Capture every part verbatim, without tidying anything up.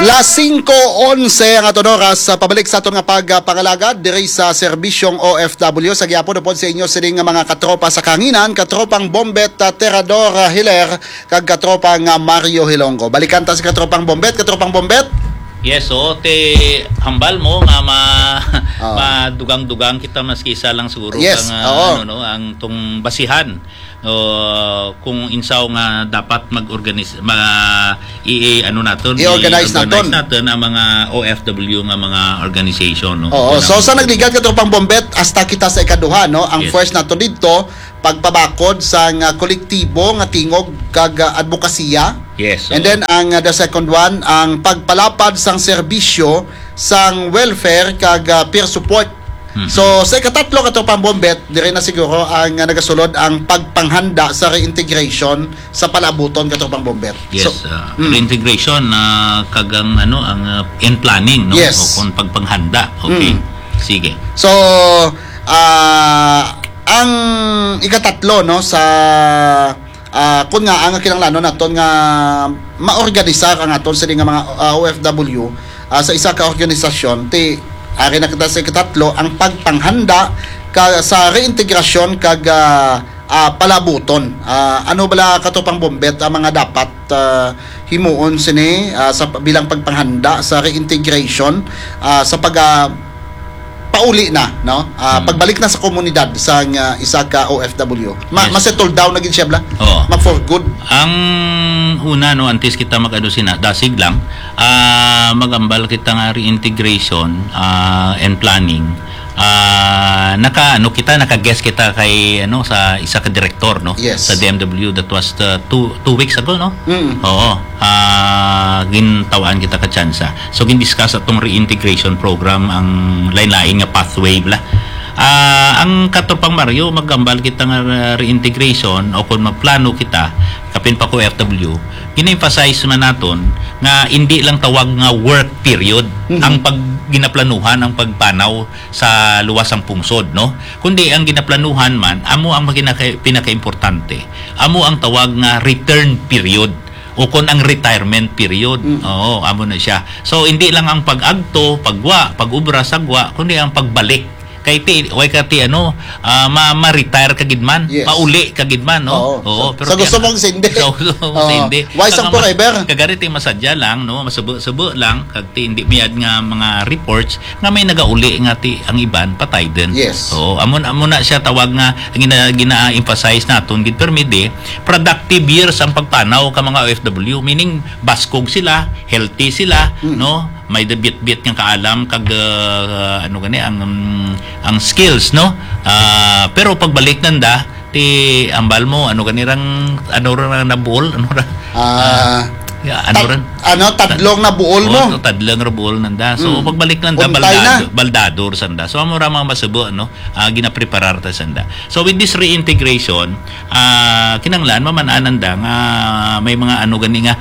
Alas singko onse ang aton oras. Sa pabalik sa aton nga pagpangalagad diri sa serbisyong O F W, sa gihapon upod sa inyo sining nga mga katropa sa kahanginan, katropang Bombet, ah, Terador, ah, Hiler, kag katropang, ah, Mario Hilonggo. Balikan ta si katropang Bombet. Katropang Bombet? Yes, oo, te, hambal mo nga ma-, Ah. madugang-dugang kita, maski isa lang siguro Yes, ang, ah, oo. ano, no, ang tong basihan, o kung insaw nga dapat mag-organis-, ma-, i-, i-, ano naton, I-organize i-organize naton. naton ang mga O F W nga mga organization, no? Oo, Kung so ang sa nagligad, katropang Bombet, hasta kita sa ikaduha, no? Ang Yes. first nato didto, pagpabakod sa nga kolektibo nga tingog kag, ah, adbokasiya. Yes, And oo. then ang, ah, the second one, ang pagpalapad sang serbisyo sang welfare kag, ah, peer support. Mhm. So, sa ikatatlo, katropang Bombet, diri na siguro ang, ah, nagasulod ang pagpanghanda sa reintegration sa palaabuton, katropang Bombet. Yes, So, ah, mm. reintegration, ah, kag ang, ano, ang, ah, in planning, no? Yes. O kung pagpanghanda. Okay. Mm. Sige. So, ah, ang ikatatlo, no, sa, ah, kun nga ang kinahanglanon naton nga maorganisar ang aton sini nga mga, ah, O F W, ah, sa isa ka organisasyon, ti ari na kita sa ikatatlo, ang pagpanghanda ka sa reintegrasyon kag, ah, ah, palabuton. Ah, ano bala, katropang Bombet, ang mga dapat, ah, himuon sini, ah, sa bilang pagpanghanda sa reintegration, ah, sa pag, ah, pauli na, no? Ah, Hmm. pagbalik na sa komunidad sang, ah, isa ka O F W. Ma-, Yes. ma-settle down na gid siya, bala? Oo. Ma-for good. Ang una, no, antes kita mag-ano sina, dasig lang, ah, magambal kita nga reintegration, ah, and planning. Ah, naka, ano kita, naka-guest kita kay, ano, sa isa ka direktor, no? Yes. Sa D M W, that was the two, two weeks ago, no? Mm. Oo. Ah, gintawaan kita ka tsansa. So, gindiscuss atong reintegration program, ang lain-lain nga pathway, bala. Ah, ang katropang Mario, magambal kita nga, ah, reintegration o kung magplano kita, kapin pa ko F W, gina-emphasize man naton nga hindi lang tawag nga work period Mhm. ang pag-, ginaplanuhan ang pagpanaw sa luwas sang pungsod, no? Kundi ang ginaplanuhan man, amo ang maginaka-, pinakaimportante. Amo ang tawag nga return period o kon ang retirement period. Mm. Oo, amo na siya. So, hindi lang ang pag-agto, pagwa, pag-ubra sa gwa, kundi ang pagbalik. Kay ti, way ka ti, ano, ah, ma-, ma-retire ka gid man, Yes. pauli ka gid man, no? Oo. Oo, Sa, pero sa ti, gusto ano, mong sindi. sa gusto mong Oo. sindi. Why sang Ang ma-, forever? kagari ti masadya lang, no? Masubo-subo lang, kag ti hindi miyad nga mga reports nga may nagauli nga ti ang iban patay din. Yes. Oo, amo, amo na siya tawag nga gina-, gina-emphasize naton gid permi di productive years ang pagpanaw ka mga O F W, meaning baskog sila, healthy sila, Mm. no? May da-, bitbit nga kaalam kag, uh, ano gani ang, um, ang skills, no? Ah, pero pagbalik nanda, ti ambal mo, ano gani rang, ano ra nabuol, ano ra? Ah, Ah, ya, ano tad-, ran? ano, tadlong na buol Oh, mo. to, tadlong ra buol nanda. So, Mm. pagbalik nanda, Untay na. baldado, baldado ra sanda. So, amo ra mga masubo, ano? Ah, ginapreparar ta sanda. So, with this reintegration, ah, kinanglan, maman-anan da nga may mga ano gani nga,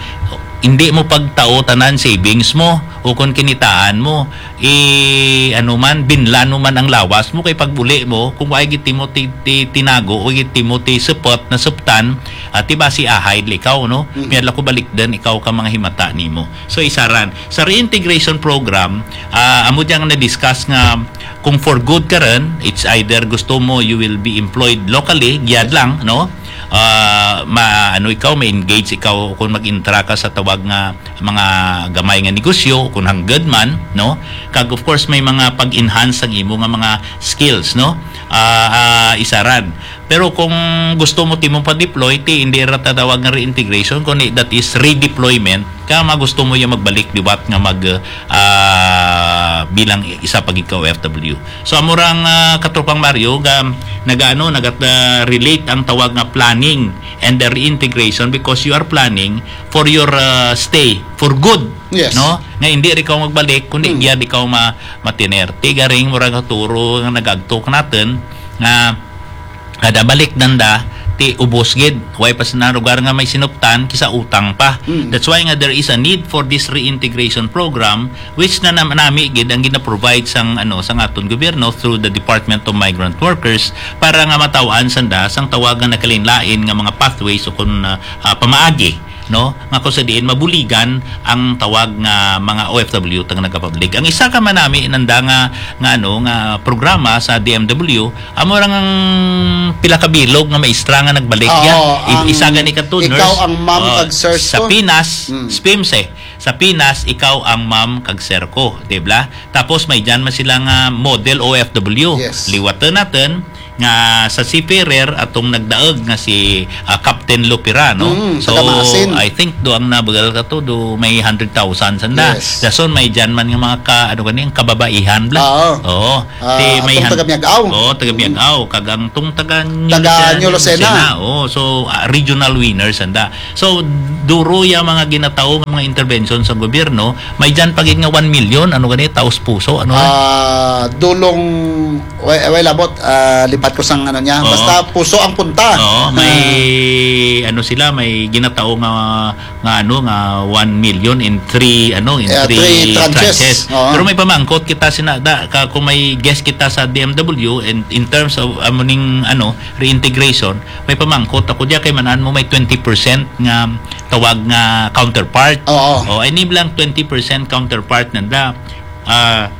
hindi mo pagtao tanan savings mo o kung kinitaan mo, i-, ano man, binlan mo man ang lawas mo, kay pag-uli mo, kung wa gid ti mo ti-, ti-, tinago o gid ti mo ti supot, nasuptan, at ti basi ahay likaw, no? Mm. May adlaw ko balikdan ikaw ka mga himata nimo. So, isaran. Sa reintegration program, ah, amo dyan nga na-discuss nga kung for good ka rin, it's either gusto mo you will be employed locally, giyad lang, no? Ah, ma-, ano ikaw, ma-engage ikaw kung mag-intra ka sa tawag nga mga gamay nga negosyo, kung hangad man, no? Kag of course, may mga pag-enhance ang imo nga mga skills, no? Ah, ah, isaran. Pero kung gusto mo ti mo pa-deploy, ti hindi ra tatawag nga reintegration, kundi that is redeployment. Kaya magusto mo yung magbalik liwat nga mag, ah, bilang isa pa gid ka O F W. So, amo ra ang, ah, katropang Mario, ga, nagaano, nagat, ah, relate ang tawag nga planning and the reintegration because you are planning for your, ah, stay for good. Yes. No? Nga hindi rin ka magbalik, kundi Hmm. iya di ka ma-, matiner. Ti garing, mura nga turo nga nagagtok natin, nga kada balik nanda, ti ubos gid. Way pa sa lugar nga may sinuptan, kisa utang pa. Mm. That's why nga there is a need for this reintegration program, which na nam-, nami gid ang gina-provide sang, ano, sang aton gobyerno through the Department of Migrant Workers para nga mataw-an sanda sang tawag nga nakalinlain nga mga pathways o kun, ah, ah, pamaagi no, nga kung sa diin mabuligan ang tawag nga mga O F W tang nagapablig. Ang isa ka manami nanda nga, nga, ano, nga programa sa D M W, amo ra nga ang pila ka bilog nga maestra nga nagbalik. Oo, ya. I-, ang isa gani ka to, ikaw nurse. Ang ma'am, oh, kag sir sa ko. Pinas, Mm. spimse. Sa Pinas, ikaw ang ma'am kag sir ko, di ba? Tapos may dyan man sila nga model O F W. Yes. Liwatan natin nga sa seafarer atong nagdaog nga si, ah, Captain Lupira, no? Mm, so, taga Maasin. I think do ang nabagal ka to, do may hundred thousand sanda. Yes. Dason may dyan man nga mga ka, ano gani, ang kababaihan, bla? Oo. Oo. Ah, Ti may atong han-, taga Miag-aw. Oo, taga Mm. Miag-aw. Kag ang tong taga New Taga Lucena, New Lucena. Lucena. Oo, so, ah, regional winners sanda. So, duro ya mga ginatao nga mga intervention sa gobyerno, may dyan pa gid nga one million, ano gani, taos puso, ano? Ah, dulong, way, way labot, ah, lipat ko sang ano niya. Oo. Basta puso ang punta. Oo, may, Ah. ano sila, may ginatao nga, nga ano, nga one million in three, ano, in Yeah, three three tranches. tranches. Oo. Pero may pamangkot kita sina, da, ka, kung may guest kita sa D M W, in, in terms of, amo ning, ano, reintegration, may pamangkot ako diya kay manan mo may twenty percent nga tawag nga counterpart. Oo. O, ini lang twenty percent counterpart nanda, ah,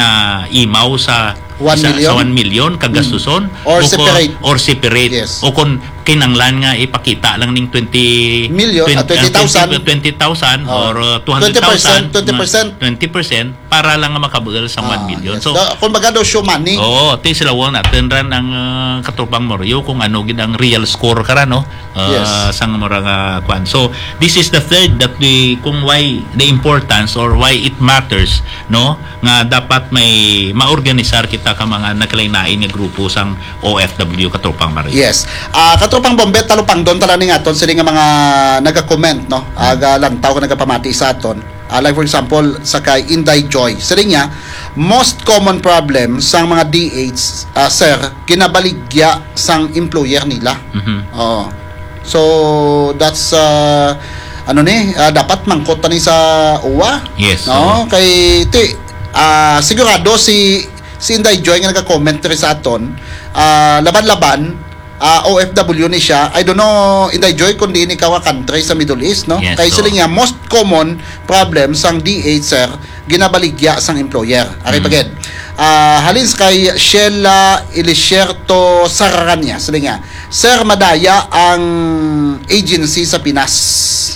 ginaimaw sa One sa, million? sa one million kagastuson. Mm. Or O kon, separate. or separate. Yes. O kon kinanglan nga ipakita lang ning twenty Million, twenty, ah, twenty thousand. ah, twenty, twenty thousand Oh. or, uh, two hundred thousand, Twenty percent, twenty percent. twenty percent para lang nga makabugal sa Ah, one million. Yes. So, Da-, kumbaga daw show money. Oo, ti sila wala natin ran ang, ah, katropang Mario kung ano gid ang real score kara, no? Ah, Yes. sang mura nga kwan. So, this is the third that the, kung why the importance or why it matters, no? Nga dapat may maorganisar kita ka mga nagkalain-lain nga grupo sang O F W, katropang Mario. Yes. Ah, katropang Bombet, talupangdon tala ni nga aton sini nga mga naga-comment, no? Aga lantaw ka nagapamati sa aton. Ah, like for example, sa kay Inday Joy. Siling niya, most common problem sang mga D H, ah, sir, ginabaligya sang employer nila. Mhm. Oo. So, that's, ah, ano ni, ah, dapat mangkot pa ni sa uwa. Yes, No? oo. Kay, ti, ah, sigurado si, si Inday Joy nga nagka-comment diri sa aton, ah, laban-laban, ah, O F W ni siya. I don't know, Inday Joy, kung diin ikaw nga country sa Middle East, no? Yes, Kay oo. sila niya, most common problem sang D H, sir, ginabaligya sang employer. Ari Mm. pa gid. Ah, halin sa kay Sheila Elisierto Sararanya, sila niya, "Sir, madaya ang agency sa Pinas,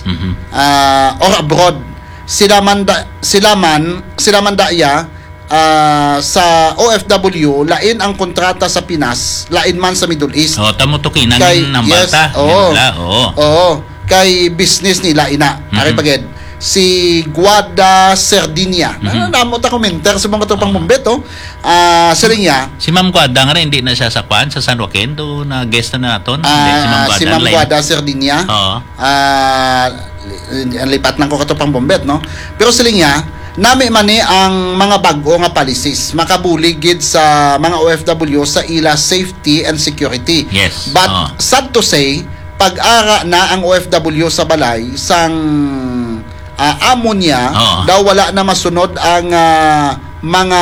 Mhm. ah, or abroad. Sila man da, sila man, sila man daya, ah, sa O F W, lain ang kontrata sa Pinas, lain man sa Middle East." Oh, tamo to kinang Kay, nambal yes, ta. oo. Yan pala, oo. Oo. Kay business nila ina. Ari Mhm. pa gid. Si Guada Sardinia. Mhm. Ano, namo ta commenter sa mga tropang Ah. Bombet, oh. Ah, siling niya. Si Ma'am Guada nga rin, hindi na siya sa kwan, sa San Joaquin, do na guest na naton. Hindi, si Ma'am Ah, Guada, si Ma'am lain. Guada Sardinia. Oo. Ah, li-, lipat lang ko katropang Bombet, no? Pero siling niya, nami man ni ang mga bag-o nga policies makabulig gid sa mga O F W sa ila safety and security. Yes. But Oo. sad to say, pag-ara na ang O F W sa balay sang, ah, amo niya, Oo. daw wala na masunod ang, ah, mga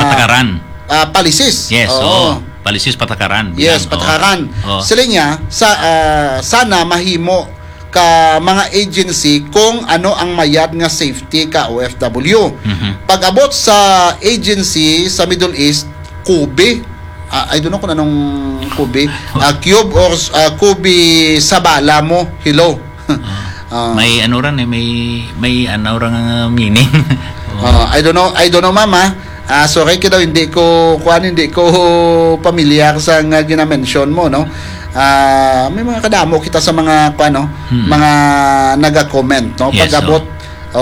Patakaran. ah, policies. Yes, Oo. oo. Policies patakaran. Yes, Bilang, oo. patakaran. Oo. Sila niya, sa, ah, sana mahimo ka mga agency kung ano ang mayad nga safety ka O F W. Mhm. Pag-abot sa agency sa Middle East, Kobe. Ah, I don't know kung anong Kobe. Ah, Cube or, ah, Kobe sa bala mo. Hello. Ah. Ah. May ano ran eh, may, may ano ran nga meaning. Oo. Ah, I don't know, I don't know, ma'am, ah. Ah, sorry, kay daw hindi ko, kuan, hindi ko pamilyar sa nga ginamention mo, no? Ah, may mga kadamo kita sa mga, kuan, no? Hmm. Mga naga-comment, no? Yes, Pag-abot, so.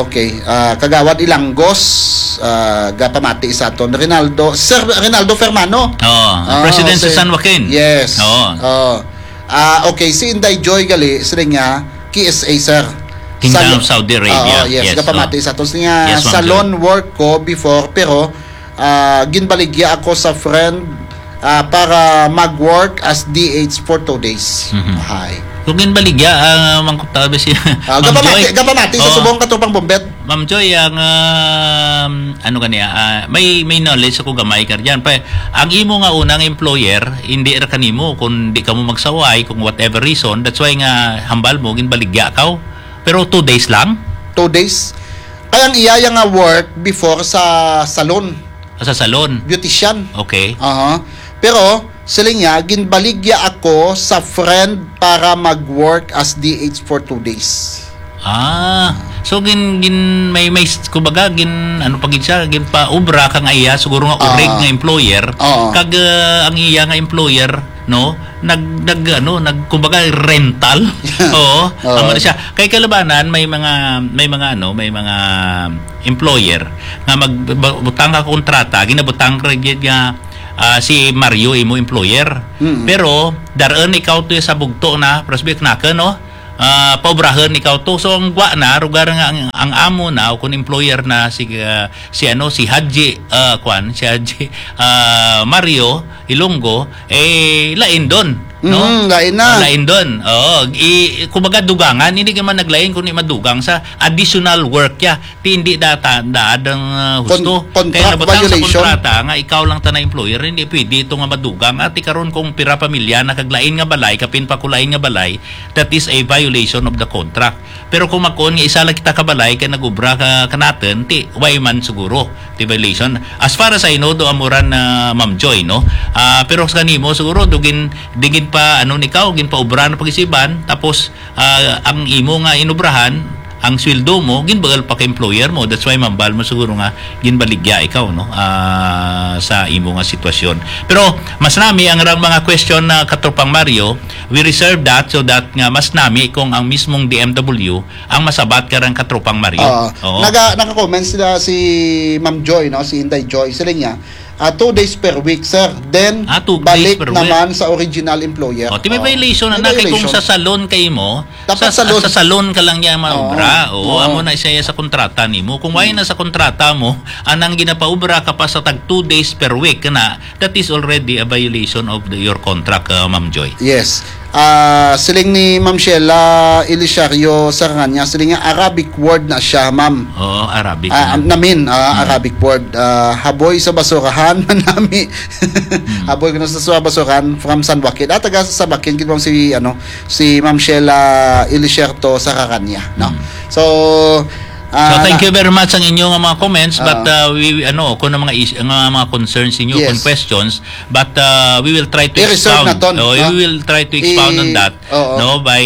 Okay. Ah, Kagawad Ilanggos, ah, gapamati sa aton. Rinaldo, Sir Rinaldo Fermano. Oo, Ah, President si sa San Joaquin. Yes. Oo. Oo. Ah, okay, si Inday Joy gali, sila nga, K S A, sir. Kingdom Sa of Saudi Arabia. Oo, yes, Yes, gapamati oo. sa aton. Sila nga, Yes, ma'am, salon sir. work ko before, pero, ah, ginbaligya ako sa friend, ah, para mag-work as D H for two days. Mhm. Hay. Kung ginbaligya, ah, mangkutabi siya. Ah, Ma'am gapamati, Joy. gapamati sa Oo. subong katropang Bombet. Ma'am Joy, ang, um, ano gani, ah, may, may knowledge ako gamay ka dyan. Pa, ang imo nga unang employer, hindi ra kanimo kung di ka mo magsaway, kung whatever reason, that's why nga hambal mo, ginbaligya ka. Pero two days lang? Two days. Kay ang iya nga work before sa salon. Ah, sa salon? Beautician. Okay. Aha. Pero, siling niya, ginbaligya ako sa friend para mag-work as D H for two days. Ah, so gin, gin, may, may, kumbaga, gin, ano pa gid siya, ginpaubra kang iya, siguro nga urig Ah. nga employer, Oo. kag, ah, ang iya nga employer, no, nag, nag, ano, nag, kumbaga, rental. Oo, Oo. amo na siya. Kay kalabanan, may mga, may mga, ano, may mga employer nga mag, ba, butang ka kontrata, ginabutang ka gid nga, ah, si Mario imo employer. Mm. Pero, dar-an ikaw to sa bugto na, prosbik na ka, no? Ah, paubrahan ikaw to. So, ang gwa na, rugar nga ang, ang amo na, o kung employer na, si, ah, si, ano, si Haji, ah, kwan, si Haji, ah, Mario Ilonggo, eh, lain doon, no? Mm, lain na. Ah, lain doon. Oo, i-, kumbaga, dugangan, hindi ka man naglain, kundi madugang sa additional work ya. Ti hindi data, daad ang, ah, Con-, husto. Kaya contract nabutang sa violation. Kontrata nga ikaw lang ta na employer, hindi pwede ito nga madugang. Ati karon kung pira pamilya na kag lain nga balay, kapin pa ko lain nga balay, that is a violation of the contract. Pero kung magkuon nga isa lang kita ka balay kay nag-ubra ka kanatun, ti way man siguro, ti violation. As far as I know, do amuran na Ma'am Joy, no? Ah, pero sa kanimo siguro, dugin, dingin pa, ano, nikaw, ginpaubra na pag-isiban, tapos, ah, ang imo nga inubrahan, ang sweldo mo, ginbagal pa ka employer mo. That's why mambal mo siguro nga ginbaligya ikaw, no? Ah, sa imo nga sitwasyon. Pero mas nami ang rang mga question na Katropang Mario, we reserve that so that nga mas nami kung ang mismong D M W ang masabat ka rang Katropang Mario. Oo. Oo. Naga, naka-comment sila si Ma'am Joy, no? Si Inday Joy. Sila niya, ah, two days per week, sir. Then, Ah, two days balik per week. naman sa original employer. O, ti may Oo. violation na May na kay kung violation. sa salon kay mo, Dapat sa, salon. sa salon ka lang niya maubra. Oo. Oo, Oo. amo na siya sa kontrata nimo. Kung wala Hmm. na sa kontrata mo, anang ginapaubra ka pa sa tag two days per week na, that is already a violation of the, your contract, uh, Ma'am Joy. Yes. Ah, siling ni Ma'am Sheila Elisario Saranganya, siling nga Arabic word na siya, ma'am. Oo, Arabic Ah, na. am-, namin, ah, Hmm. Arabic word. Ah, haboy sa basurahan, manami. Hmm. Haboy ko na sa, sa basurahan from San Joaquin. Ah, taga sa San Joaquin, gid, ma'am, si, ano, si Ma'am Sheila Elisierto Saranganya, no? Hmm. So, So, ah, thank na- you very much ang inyo nga mga comments, but, Ah. uh, we, we, ano, kung ang mga is-, ang mga concerns ninyo, Yes. kung questions, but, uh, we will try to I-reserve expound. na ton, Oh, no? we will try to expound on I-, that, oo. no, by,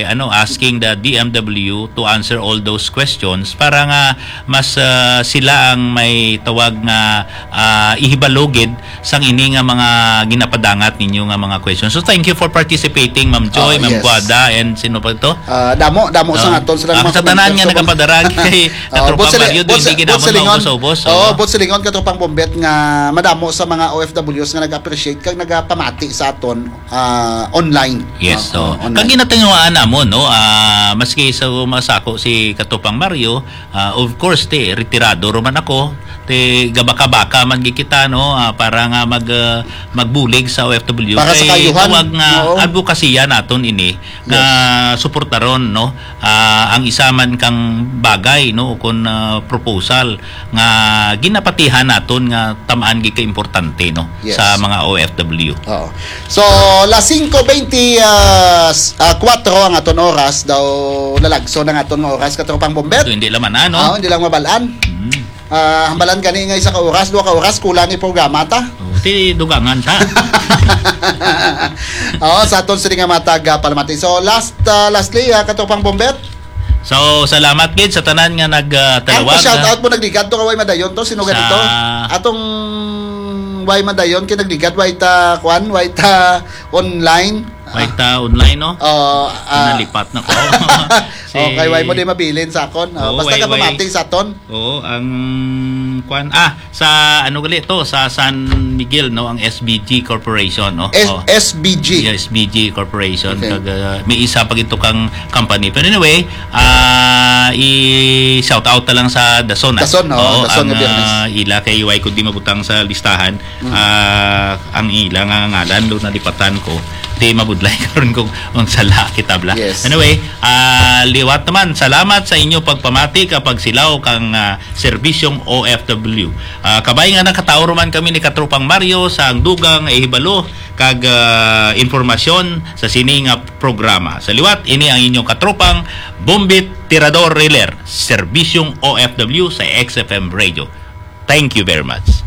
ano, asking the D M W to answer all those questions para nga mas, uh, sila ang may tawag nga, uh, ihibalugid sang ini nga mga ginapadangat ninyo nga mga questions. So, thank you for participating, Ma'am Joy, Oh, Ma'am yes. Guada, and sino pa to? Ah, damo, damo sa Ah, aton sila ang mga sa tanan nga commenters. nagapadara kay Ah, Katropang Bot Sili-, Mario, Bot doon Si-, di Bot ginamon Silingon. maubos-ubos, Oo, oo. Bot Silingon, Katropang Bombet, nga madamo sa mga O F Ws nga nag-appreciate kag nagapamati sa aton, ah, online. Yes, Ah, so, ah, online. Kag ginatinguhaan namon, no, ah, maski sa masako si Katropang Mario, ah, of course, ti, retirado ro man ako, ti, gabaka-baka man gid kita, no, ah, para nga mag, ah, magbulig sa O F W. Para sa Kay kaayuhan. tawag nga Oo. advokasya naton ini, nga Yes. suportaron, no, ah, ang isa man kang bagay, no, o kun, ah, proposal nga ginapatihan naton nga tamaan gid ka importante, no, Yes. sa mga O F W. Oo. So, las singko beinti, ah, s-, ah, kuwatro ang aton oras, daw lalagso ang aton nga oras, Katropang Bombet. So, hindi lang man, ano? Ah, hindi lang mabalaan. Mm. Ah, hambalan gani nga isa ka oras, duha ka oras, kulang ni programa ta. Oh, ti dugangan ta. Oo, sa aton sini nga matag, ah, palamati. So, last, ah, lastly, ah, Katropang Bombet. So, salamat gid sa tanan nga nag, ah, Ang talawag, pa-shout ah. out mo, nagligad to ka, way madayon to, sino Sa ganito? Atong way madayon, kay nagligad, way ta, kwan, way ta online. Way ta online, no? Oo, ah. Nalipat na ko. Si Okay, way mo di mabilin sa akon. Ah, Oo, basta way, ka way. pamati sa aton. Oo, ang kwan, ah, sa ano gali to, sa San Miguel, no, ang S B G Corporation, no? S-, Oh. S B G. Yeah, S B G Corporation. Okay. Kag, ah, may isa pa gid to kang company. Pero anyway, ah, I-shout out na lang sa Dason, ah. Dason, oo, Oo, Dason ang, nga Biyernes. ah, ila kay way ko di mabutang sa listahan. Ah, ang ila nga ngalan, lo nalipatan ko. Di mabudlay karon kung ang sala kita bla. Yes. Anyway, ah, liwat naman. Salamat sa inyo pagpamati kapag silaw kang ah, serbisyong O F W. Ah, kabay nga nakatawo man kami ni Katropang Mario sa ang dugang ihibalo kag ah, informasyon sa sini nga programa. Sa liwat, ini ang inyong katropang Bombit Tirador Riler, serbisyong O F W sa X F M Radio. Thank you very much.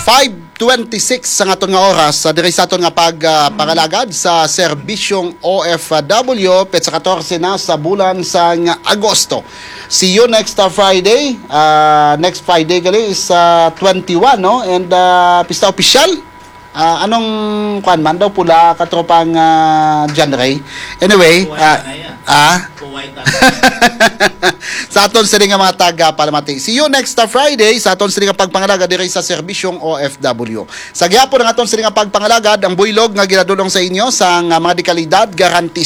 Five twenty-six sa aton nga oras, sa diri sa aton nga pag ah, pangalagad sa serbisyong O F W, petsa katorse na sa bulan sang Agosto. See you next ah, Friday. Ah, next Friday gali is ah, twenty-one, no? And ah, pista opisyal. Ah, anong kwan man daw pula, katropang ah, John Ray? Anyway, ah, ah, sa aton sini nga mga taga Palamati. See you next ah, Friday sa aton sini nga pagpangalaga diri sa serbisyong O F W. Sa gihapon ang aton sini nga pagpangalagad, ang buylog nga ginadulong sa inyo sang ah, mga dekalidad, garanti